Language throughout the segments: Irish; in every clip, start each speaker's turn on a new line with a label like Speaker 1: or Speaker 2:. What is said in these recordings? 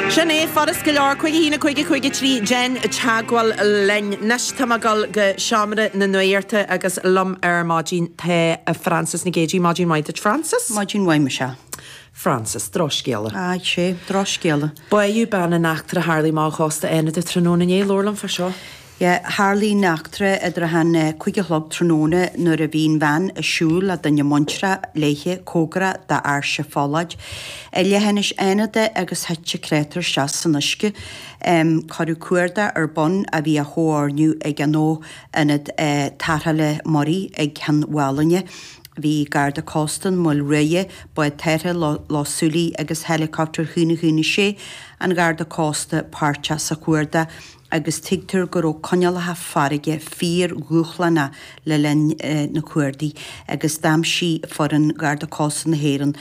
Speaker 1: Sin é, furast go leor, 5 1 5 5 3, déan teagmháil linn. Anois tá mé ag dul go seomra na nuachta agus liom ar maidin tá Frances Nic Géadaigh. Maidin mhaith duit, Frances.
Speaker 2: Maidin mhaith, Michelle.
Speaker 1: Frances, drochscéala.
Speaker 2: Aye, sé, drochscéala.
Speaker 1: Báitheadh bean in eachtra a tharlaigh amach ó chósta Fhánada tráthnóna inné. Labhair liom fá seo.
Speaker 2: Yeah, tharlaigh an eachtra idir a han 5 a chlog tráthnóna nuair a bhí an bhean ag siúl le duine muintreach léithe cóngarach d'Áirse Phollaird i leithinis Fhánada agus thit an créatúr isteach san uisce. Cuireadh cuardach ar bun a bhí á chomhordú ag an Fho-Ionad Tarrthála Muirí ag Ceann Mhálanna. Bhí Garda Cósta an Mhaoil Ruaidh, bád tarrthála Loch Súilí agus héileacaptar 1 1 6 an Gharda Cósta páirteach sa chuardach agus tuigtear go raibh coinníollacha farraige fíor-dhúshlánach le linn na cuardaigh agus d'aimsigh foireann Gharda Cósta na hÉireann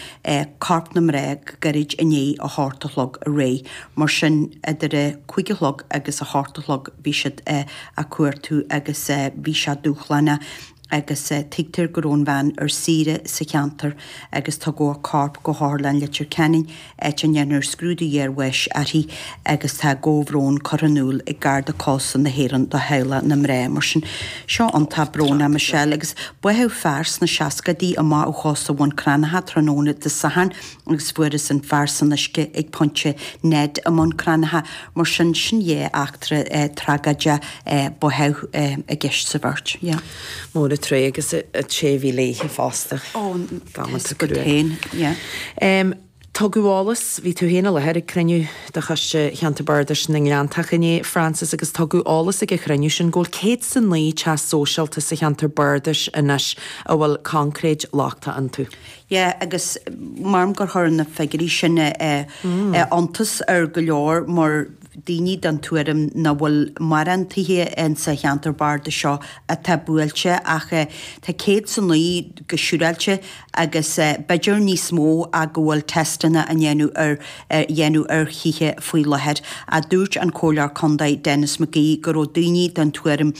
Speaker 2: corp na mná go gairid i ndiaidh a hocht a chlog aréir. Mar sin, idir a cúig a chlog agus a hocht a chlog bhí siad á cuartú agus bhí sé dúshlánach. agus tuigtear go raibh an bhean ar saoire sa cheantar agus tugadh a corp go hOtharlann Leitir Ceanainn, áit a ndéanfar scrúdú iarbháis uirthi agus tá comhbhrón curtha in iúl ag Garda Cósta na hÉireann do theaghlach na mná. Mar sin, seo iontach brónach, Michelle, agus báitheadh fear sna seascaidí amach ó chósta Bhun Cranncha tráthnóna Dé Sathairn agus fuarthas an fear san uisce ag Pointe Ned i mBun Cranncha. Mar sin, sin dhá eachtra tragóideach báitheadh i gceist sa bheirt. Yeah.
Speaker 1: Mór an trua agus an té a bhí léithe fosta.
Speaker 2: Ó, tá 'fhios agat féin, yeah.
Speaker 1: Tugadh eolas, bhí tú féin i láthair ag cruinniú de Choiste Cheantar Bardais na nGleanntach inné, Frances, agus tugadh eolas ag an chruinniú sin go bhfuil 109 teach sóisialta sa cheantar bardais anois a bhfuil concréid lochtach iontu.
Speaker 2: Yeah, agus measaim gur chuir na figiúirí sin iontas ar go leor mar daoine den tuairim nach bhfuil mórán tithe insa cheantar bardais seo atá buailte ach tá 109 go siúráilte agus b'fhéidir níos mó ach go bhfuil teisteanna á ndéanamh ar dhéanamh ar thithe faoi láthair. Ach dúirt an Comhairleoir Contae Denis McGee go raibh daoine den tuairim.